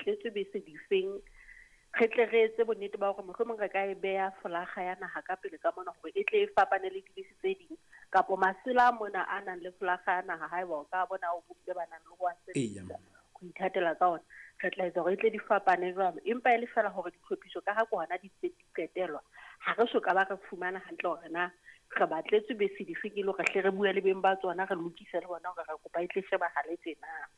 batletswe bese difeng, re tle re etse bonnete ba hore mohlomong re ka e beha folaga ya naha ka pele ka mona hore e tle e fapane le dibese tse ding, kapo masela a mona a nang le folaga ya naha, haeba o ka bona o bomme ba nang le ho a sebedisa ho ithatela ka ona, re tla etsa hore e tle di fapane jwalo. Empa e le feela hore ditlhophiso ka ha ke hona di ntse di qetelwa, ha re so ka ba re fumana hantle hore na re batletswe bese dife, ke le hore hle re bue le beng ba tsona, re lokise le bona hore re kopa e tle shebahale tjena.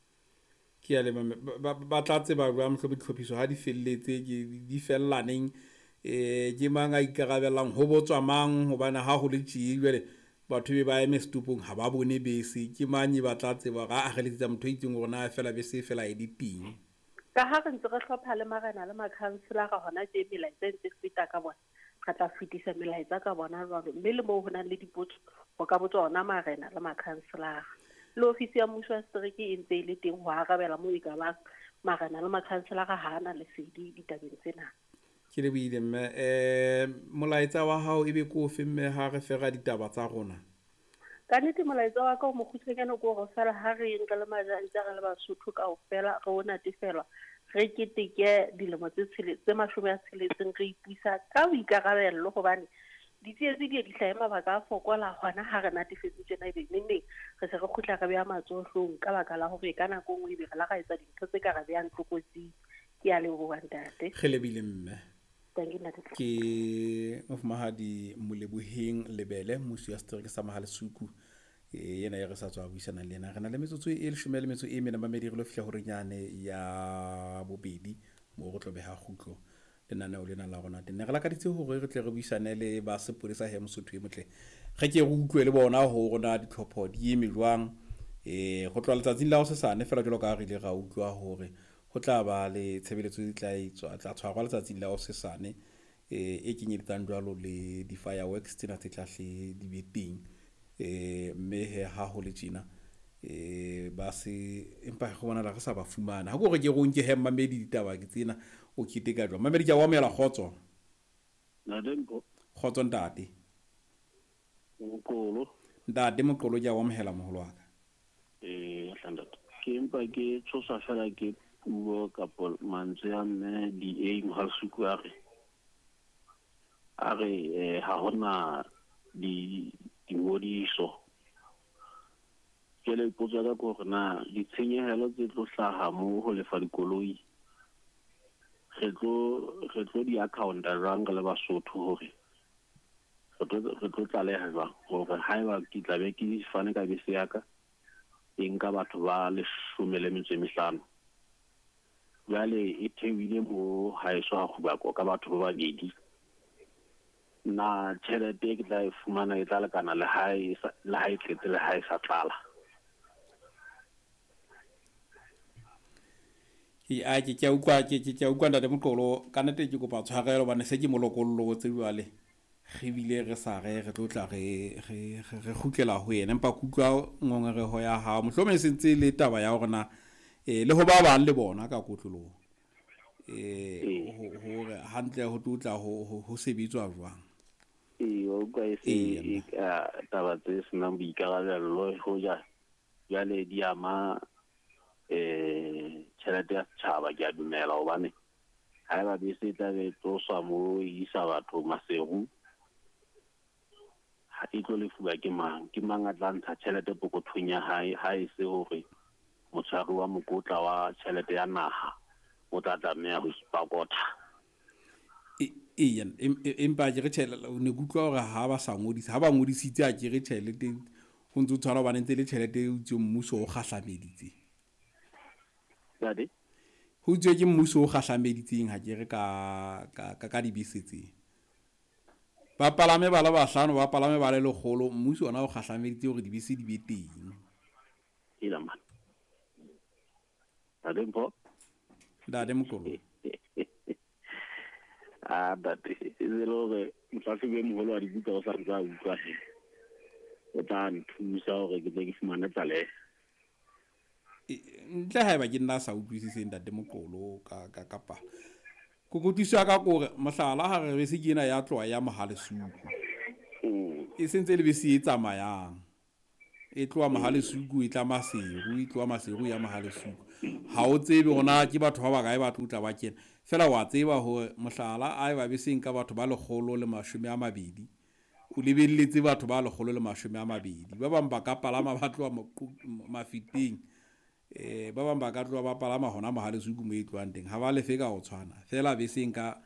Ke a leboha mme. Ba tla tseba jwang mohlomong ditlhophiso ha di felletse, ke di fella neng? Ke mang a ikarabellang, ho botswa mang? Hobane ha ho le tjee jwale batho be ba eme setopong ha ba bone bese. Ke mang e ba tla tseba hore aa re letsetsa motho a itseng hore na feela bese e fela e le teng? Ka ha re ntse re hlopha le marena le makhanselara hona tje, melaetsa e ntse e feta ka bona, re tla fetisa melaetsa ka bona jwalo. Mme le moo ho nang le dipotso, ho ka botswa ona marena le makhanselara. Le ofisi ya mmuso wa setereke e ntse e le teng ho arabela moo e ka bang marena le makhanselara ha a na lesedi ditabeng tsena. Ke lebohile mme. Molaetsa wa hao ebe ke ofe mme ha re fera ditaba tsa rona? Ka nnete molaetsa wa ka o mokgutshwanyane ke hore feela ha re yeng re le majantja, re le Basotho kaofela, re o natefelwa, re keteke dilemo tse tshele, tse 60 re ipusa ka boikarabello, hobane ditsietsi di ye di hlahe mabaka a fokola hona ha re natefetse tjena, ebe nengneng re se re kgutla re beha matsoho hloohong ka baka la hore ka nako e nngwe ebe re la ra etsa dintho tse ka re behang tlokotsing. Ke a leboha ntate. Re lebile mme. Thank you, ntate. Ke mofumahadi Moleboheng Lebele, mmusi wa setereke sa Mohalesuku, yena e re sa tswa buisana le yena. Re na le metsotso e leshome le metso e mene mamedi, re lo fihla horeng yane ya bobedi moo re tlo beha kgutlo lenaneo lena la rona teng. Ne re lakaditse hore re tle re buisane le ba sepolesa he Mosotho e motle, re ke re utlwe le bona hore na ditlhopho di eme jwang. Ho tloha letsatsing la hosesane fela jwalo ka ha re ile ra utlwa hore ho tla ba le tshebeletso e tla etswa, tla tshwarwa letsatsing la hosesane, e kenyeletsang jwalo le di-fireworks tsena tse tla hle di be teng. Mme he ha ho le tjena, ba se empa go bonala re sa ba fumana. Ha ke hore ke re o nke he mmamedi ditaba ke tsena o keteka jwang. Mmamedi ke a o amohela, kgotso. Ntate Mpho. Kgotso ntate. Moqolo. Ntate Moqolo ke a o amohela moholo wa ka. Hla ntate. Ke empa ke tshoswa fela ke puo kapo mantswe a mme DA Mohalesuku a re, a re ha hona di dingodiso. Jwale potso ya ka ke hore na ditshenyehelo tse tlo hlaha mo ho lefa dikoloi re tlo di accounta jwang re le Basotho, hore re tlo tlaleha jwang hore haeba ke tla be ke fane ka bese ya ka e nka batho ba 15, jwale e theohile mo haeso ha Kgubako ka batho ba babedi, na tjhelete e ke tla e fumana e tla lekana le ha e sa, le ha e tletse le ha e sa tlala? Ke a ke ke a utlwa, ke ke ke a utlwa ntate Moqolo, ka nnete ke kopa tshwarelo hobane se ke mo lokollotse jwale. Re bile re sa re re tlo tla re re re kgutlela ho yena, empa ke utlwa ngongoreho ya hao. Mohlomong e sentse le taba ya hore na le ho ba bang le bona ka kotloloho, hore hantle ho tlo tla ho sebetswa jwang. Ee, wa utlwa e se e ka taba tse senang boikarabello, hoja jwale di ama tjhelete ya setjhaba, ke a dumela, hobane haeba bese e tla be e tloswa mo e isa batho Maseru, ha e tlo lefuwa ke mang? Ke mang a tla ntsha tjhelete pokothong ya hae, ha e se hore motshwari wa mokotla wa tjhelete ya naha o tla tlameha ho ipakotha? Eya, empa ke re tjhelete, ne ke utlwa hore ha ba sa ngodisa, ha ba ngodisitse a ke re tjhelete ho ntso tshwana, hobane ntse le tjhelete e utswe mmuso o kgahlameditse. Ntate? Ho utswe ke mmuso o kgahlameditseng ha ke re ka dibese tse. Ba palame ba le bahlano, ba palame ba le lekgolo, mmuso ona o kgahlameditse hore dibese di be teng. Hela man. Ntate Mpho? Ntate Moqolo. Ah, ntate, e se le hore mohlahlobi e moholo wa dibuka o sa ntse a utlwa he. O tla nthusa hore ke tle ke fumane tlaleho. Ntle haeba ke nna sa utlwisiseng ntate Moqolo ka kapa kokotiso ya ka kore mohlala ha re bese ke ena ya tloha ya Mohalesuku. E sentse le bese e tsamayang. E tloha Mohalesuku e tla Maseru, e tloha Maseru ya Mohalesuku. Ha o tsebe hore na ke batho ba bakae ba tlo tla ba kena. Feela wa tseba hore mohlala a eba beseng ka batho ba 120, o lebelletse batho ba 120. Ba bang ba ka palama ba tloha Mafeteng, ba bang ba ka tloha ba palama hona Mohalesuku mo e tlohang teng. Ha ba lefe ka ho tshwana. Feela beseng ka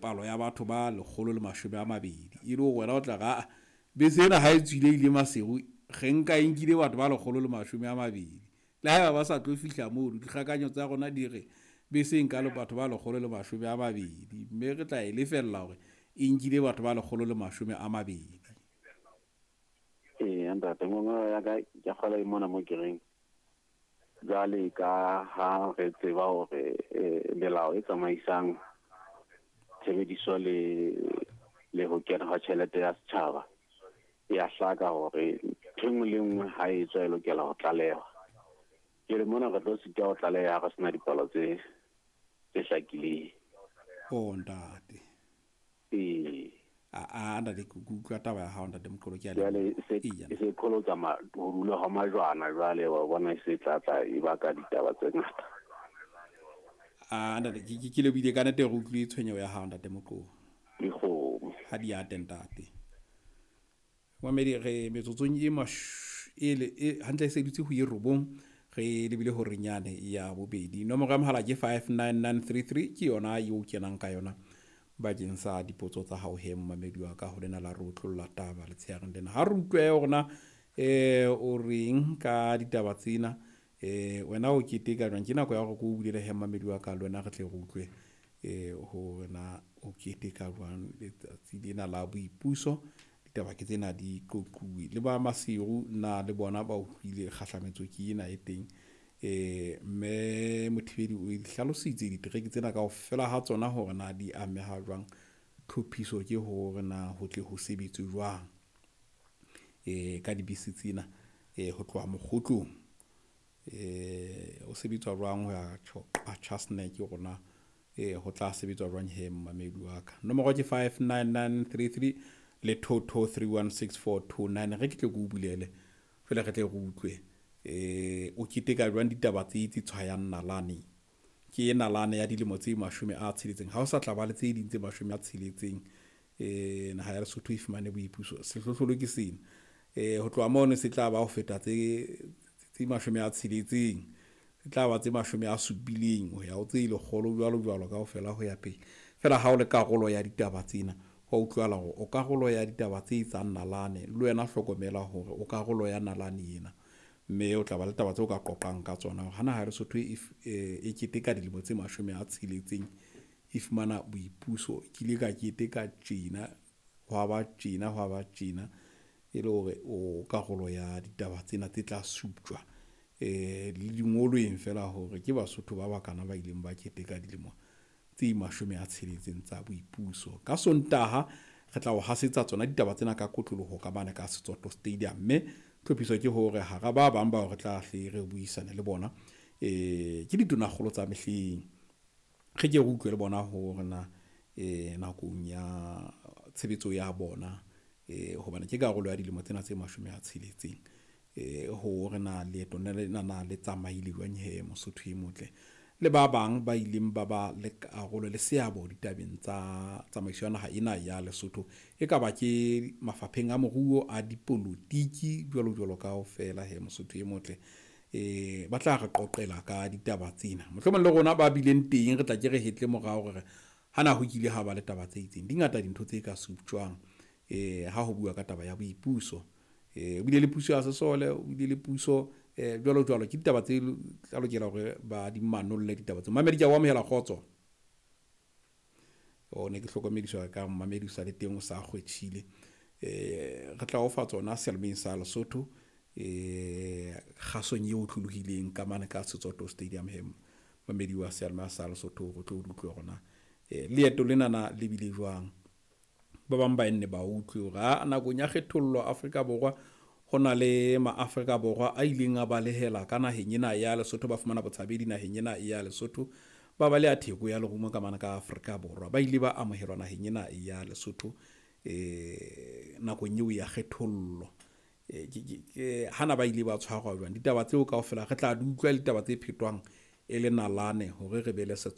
palo ya batho ba 120. E le hore wena o tla re, aa, bese ena ha e tswile ile Maseru, re nka e nkile batho ba 120. Le haeba ba sa tlo fihla mono, dikgakanyo tsa rona di re bese e nka le batho ba 120, mme re tla e lefella hore e nkile batho ba 120. Ee, ntate, ngongoreho ya ka ke kgola e mona mo ke reng jwale ka ha re tseba hore melao e tsamaisang tshebediso le ho kena ha tjhelete ya setjhaba e a hlaka hore ntho e nngwe le nngwe ha e tswa e lokela ho tlalehwa. Jwale mona re tlo sitwa ho tlaleha ha re sena dipalo tse hlakileng. Oh, ntate. Ee. A ntate, ke utlwa taba ya hao, ntate Moqolo, ke a leboha. Jwale Eya. se qholotsa ho dula ha majwana jwale, wa bona e se tla tla e baka ditaba tse ngata. A ntate, ke lebohile ka nnete, re utlwile tshwenyeho ya hao, ntate Moqolo. Dikgomo. Ha di ate, ntate. Mamedi, re metsotsong e e hantle e se dutse ho ye 9, re lebile hore nyane ya bobedi. Nomoro ya mohala ke 59933, ke yona eo kenang ka yona bakeng sa dipotso tsa hao he momamedi wa ka ho lena la re utlolla taba letsheareng lena. Ha re utlwe hore na o reng ka ditaba tsena, wena o keteka jwang? Ke nako ya hore ke o bulele he momamedi wa ka le wena re tle re utlwe hore na o keteka jwang letsatsi lena la boipuso. Ditaba ke tsena di qoquwe le ba Maseru, na le bona ba utlwile kgahlametso ke ena e teng. Mme Mothibedi o hlalositse ditereke tsena kaofela ha tsona hore na di ameha jwang, tlhophiso ke hore na ho tle ho sebetswe jwang ka dibese tsena ho tloha Mokgotlong, ho sebetswa jwang ho ya Chasnek rona, ho tla sebetswa jwang he momamedi wa ka. Nomoro ke 59933 le 22316429. Re ke tle ke o bulele fela re tle re utlwe o keteka jwang ditaba tse tse tshwayang nalane. Ke nalane ya dilemo tse 60. Ha o sa tla ba le tse ding tse 60, naha ya Lesotho e fumane boipuso. Sehlohlolo ke sena. Ho tloha mono se tla ba ho feta tse 60, se tla ba tse 70 ho ya ho tse 100 jwalo jwalo kaofela ho ya pele. Fela ha o le karolo ya ditaba tsena, ho utlwala hore o karolo ya ditaba tse etsang nalane, le wena hlokomela hore o karolo ya nalane ena, mme o tla ba le taba tseo ka qoqang ka tsona hore ha naha ya Lesotho e keteka dilemo tse 60 e fumana boipuso, ke ile ka keteka tjena, hwa ba tjena, hwa ba tjena, e le hore o karolo ya ditaba tsena tse tla suptjwa le dingolweng fela hore ke Basotho ba bakana ba ileng ba keteka dilemo tse 60 tsa boipuso. Ka Sontaha re tla o hasetsa tsona ditaba tsena ka kotloloho ka mane ka Setsoto Stadium, mme tlhophiso ke hore hara ba bang bao re tla hle re buisane le bona ke ditonakgolo tsa mehleng, re ke re utlwe le bona hore na nakong ya tshebetso ya bona, hobane ke karolo ya dilemo tsena tse 60, hore na leeto lena na le tsamaile jwang he Mosotho e motle, le ba bang ba ileng ba ba le karolo le seabo ditabeng tsa tsamaiso ya naha ena ya Lesotho, e ka ba ke mafapheng a moruo, a dipolotiki jwalo jwalo kaofela he Mosotho e motle. Ba tla re qoqela ka ditaba tsena, mohlomong le rona ba bileng teng re tla ke re hetle morao hore hana ho kile ha ba le taba tse itseng. Di ngata dintho tse ka suptjwang ha ho bua ka taba ya boipuso. O bile le puso ya sesole, o bile le puso jwalo jwalo. Ke ditaba tse tla lokela hore ba di manolle ditaba tseo. Mamedi, ke a o amohela, kgotso. O ne ke hlokomediswa ka momamedi o sa le teng o sa kgwetjhile. Re tla o fa tsona seyalemoyeng sa Lesotho kgasong eo otlolohileng ka mane ka Setsoto Stadium he mamedi wa seyalemoya sa Lesotho re tlo utlwe hore na leeto lena na le bile jwang. Ba bang ba enne ba utlwe hore a nakong ya kgethollo Afrika Borwa ho na le maAfrika Borwa a ileng a balehela ka naheng ena ya Lesotho, ba fumana botshabedi naheng ena ya Lesotho, ba baleha theko ya lerumo ka mane ka Afrika Borwa, ba ile ba amohelwa naheng ena ya Lesotho nakong eo ya kgethollo. Hana ba ile ba tshwarwa jwang? Ditaba tseo kaofela re tla di utlwa, ditaba tse phetwang e le nalane hore re be le setshwantsho.